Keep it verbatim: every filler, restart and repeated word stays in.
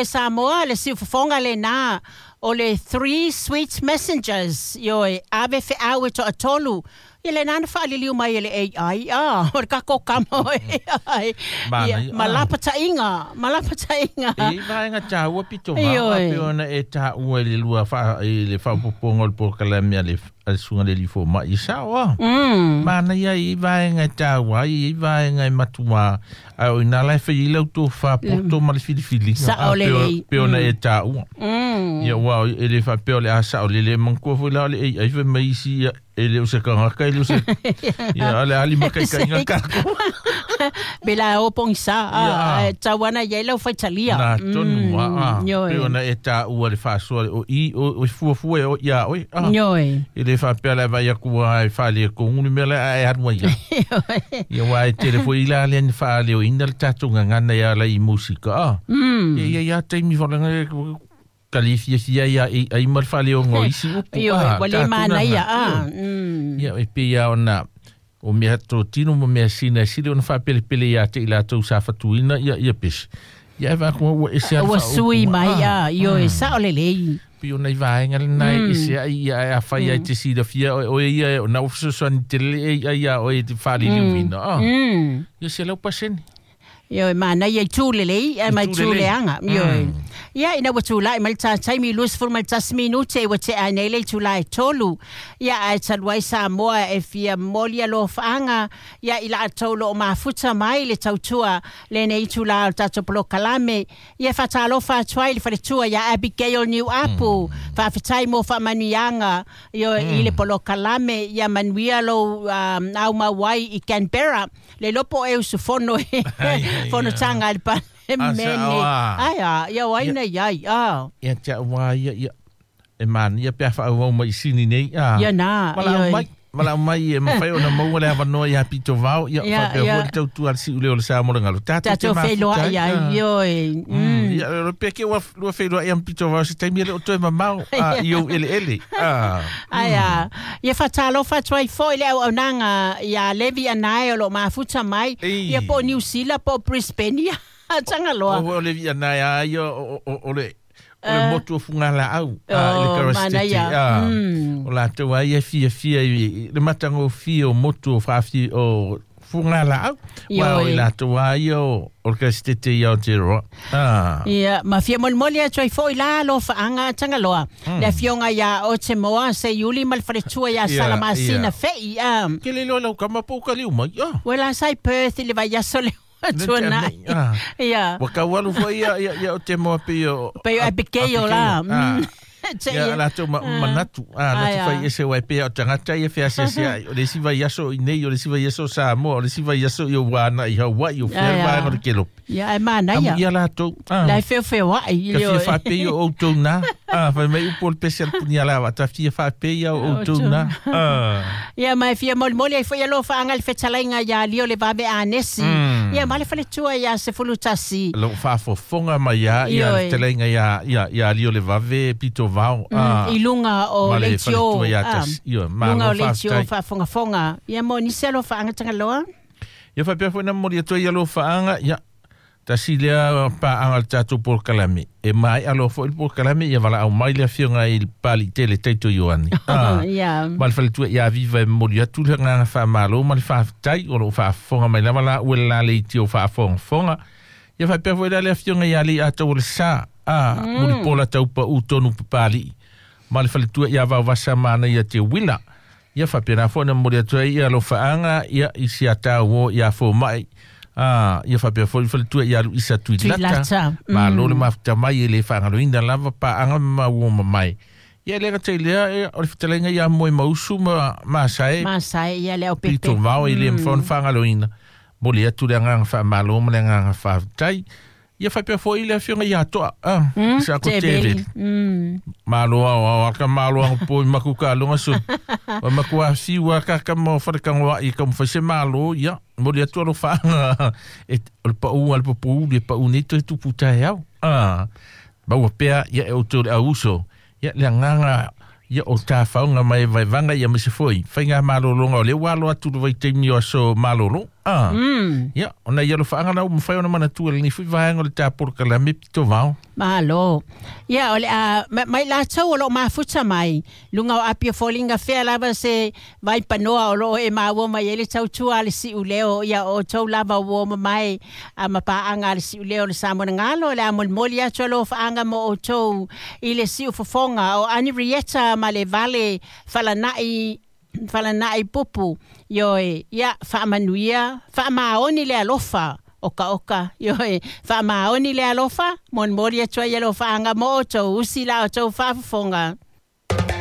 E Samoa le siufofoga lenā o le Three Sweet Messengers, ioe, ave feau e toatolu. Ia lenā na faaliliu mai e le A I, ah, o le tatou kama o A I. Ia, ma lapataiga, ma lapataiga. E vaega taua pito vao, a pei ona e taua i le lua faa, i le faaopoopoga o le polokalame a le a le susuga le alii fomai i sao a. Mm. Manaia i vaega e taua ai, i vaega e matuā, ae o ina la e fai ai lau tofā poto ma le filifiliga. Sao A pei o- lelei. pei ona e taua. Mm. Ia ua e le faapea o le a sao lele manatua foi la o le A I fai mai isi ia, e le o se tagata, e le o se ia o le a limataitaiga tatou. Pe la o pogisa, Ia. a, e tauana i ai lau faitalia. Na tonu a, a. Ioe. Pei ona e taua le faasoa o i o o fuafua e o ia oe. A. Ioe. E le faapea le vaai atu ai faaletonu le mea lea ae alu ai ia. Ia ua e tele foi la le ni faaleoina le tatou gagana ia ala i musika a. Mm. Ia ia ia taimi folaga kali fiafia ia i ai ma le faaleoga o isi upu. Ioe, a, ua le tatou manaia, gagana. a. Mm. Ia e pei lava ona o mea totino ma mea sina e sili ona faapelepele ia te i latou sa fatuina ia ia pesi. Ia e vaakua ua ese a le Ua sui faaupuga. mai, Ah. a, ioe, sao lelei. Pei ona i vaega lenā e ese ai ia ae afai ai te silafia oe oe ia e ona ua fesoasoani tele e ia iā oe i te faaliliuina. Ah. Mm. Ia selau pasene. Ioe, manaia i tū lelei, ae mai Itu tū lelei. leaga, ioe. Ia, ina ua tulai mai le tataimi i luasefulu ma le tasi minute ua tea ai nei le itulā e tolu. Ia, ae talu ai Samoa e fia momoli alofaaga, ia i latou loo mafuta mai le tautua lenei itulā o le tatou polokalame. Ia faatalofa atu ai le faletua ia Abigail Niuapu, faafetai mo faamanuiaga, ioe, i le polokalame, ia manuia lou um, aumau ai i Canberra, le iloa po o e usufono i Ai, ai, fonotaga a le Ah, Palemene. sao a. Ai a, ia o ai Ia. na iai, a. Ia te au a ia ia e manaia pe a faaauau mai i sini nei a. Ia nā, Valaau ioe. mai, valaau mai e mafai ona maua le avanoa ia pito vao ia Ia, faapea ia. foi le tautua a le si'u lea o le sa mo le galo. Tatou te Tatou feiloai mafuta ai, ai, ah. ioe. Mm. Ia, o le pea ke ua lua feiloai am pito vao se taimi e le o toe mamao a, i ou eleele. Ah. Ai a, ia faatalofa atu ai foi le auaunaga ia Levi Anae o loo mafuta mai, Ei. ia po o New Zealand po o Brisbane, ia Tagaloa. O o le via nai a ia o o o le o le motu o fugalaau a i le Oh, Karastete. manaia. Ah. Mm. O latou ai e fiafia i le matagofie o motu o faafi o fugalaau. Ua o Ioe. i latou a ia o o le Karastete i Aotearoa. Ah. Ia, ma fia molimoli atu ai foi la alofaaga Tagaloa. Le afioga ia Otemoa Seiuli ma le faletua ia Ia, Salamasina ia. Fei, a. Ke le loa lau kama po ka liu mai. Ah. Ua la sai Perth i le vaiaso le Le tua tea nai. nei, ah. Ia. Ua kau alu foi ia ia ia o te moa pe o Pe o Abigail la. Ah. Mm. Te Ia ia. latou ma manatu. Ah, Ai, na te ah. fai ese wai pea o tagata ia feasiasi ai. O le isi vaiaso i nei, o le isi vaiaso Samoa, o le isi vaiaso i o wana i Hawaii, o fea Ai, ah. vaega o le kelope. Ia, e manaia. Amu ia latou. Ah. La e feofeoai i Ka le fia oe. faapei o outou nā. Ah, fai mai upu o le pese a le punia lava. Ta fia faapei o outou nā. Ah. Ia, ma e fia molimoli ai foi alofaaga le fetalaiga ia Lio le Vave Anesi. Mm. Ia, ma le faletua ia Sefulutasi. Lou faafofoga mai ia ia Ioe. le fetalaiga ia ia ia Lio le Vave pito vao. Ah. I luga o Ma le leitio. faletua ia ah, tasi. Ioe, Luga o malo leitio faafetai. faafogafoga. Ia, mo nisi alofaaga Tagaloa. Ia faapea foi na momoli atu ai alofaaga ia tasi lea paaga le tatou polokalame. E maea loa foi le polokalame ia valaau mai le afioga i le Palitele Taito Ioane. Ah. Ia. Ma le faletua ia Viva e momoli atu le agaga faamālō ma le faafetai o loo faafofoga mai lava laua le la leitio faafogafoga. Ia faapea foi la le afioga ia alii atau o le sa a mulipola taupaʻu tonu papali'i. Ma le faletua ia Vaovasa manaia te uila. Ia faapena foi na momoli atu ai ia alofaaga ia i siatauō ia fomaʻi. Ah, ia faapea foi le faletua ia Luisa Tuilata. Tuilata. Mm. Malo le mafuta mai e le faagaloina lava paaga ma maua mamae. Ia le gata i lea e, o le fetalaiga ia moe mausu ma masae Masai, ia le au pepe. pito vao e le mafai ona faagaloina. Moli atu le agaga faamālō ma le agaga faafetai. Ia faapea foi le afioga ia Toa. Ah, Mm, sa ko Teveli. teveli. Mm. Malo ao ao aka malo ang po i maku ka longa su. O maku a fiu a ka mo whare kangoa i ka mo se malo ia. Moli atu alo whaanga. E o le pau al papu le pau nei toe tupu tae au. Ah. Maua pea ia e o tō le auso. Ia le anganga ia o tā whaunga mai vaivanga ia mese foi. Whainga malolonga o le walo atu le vaitaimi o aso malolo. Ah. Ia, ona ia alofaaga la ua mafai ona manatua i lenei fo'i vaega o le tapolokalame pitovao. Malo. Ia, o le a mai latou o loo mafuta mai luga o api o foliga fea lava se vaipanoa o loo e maua mai ai le tautua a le si'uleo. Ia o outou lava ua mamae a mapaaga a le si'uleo o le Samoanagalo o le a molimoli atu alofaaga mo outou i le si'ufofoga o Ani Rieta ma le Vale falana'i falana'i pupu. Ioe, ia faamanuia faamaoni le alofa oka oka. Ioe, faamaoni le alofa molimoli atu ai alofaaga mo outou usi la outou faafofoga.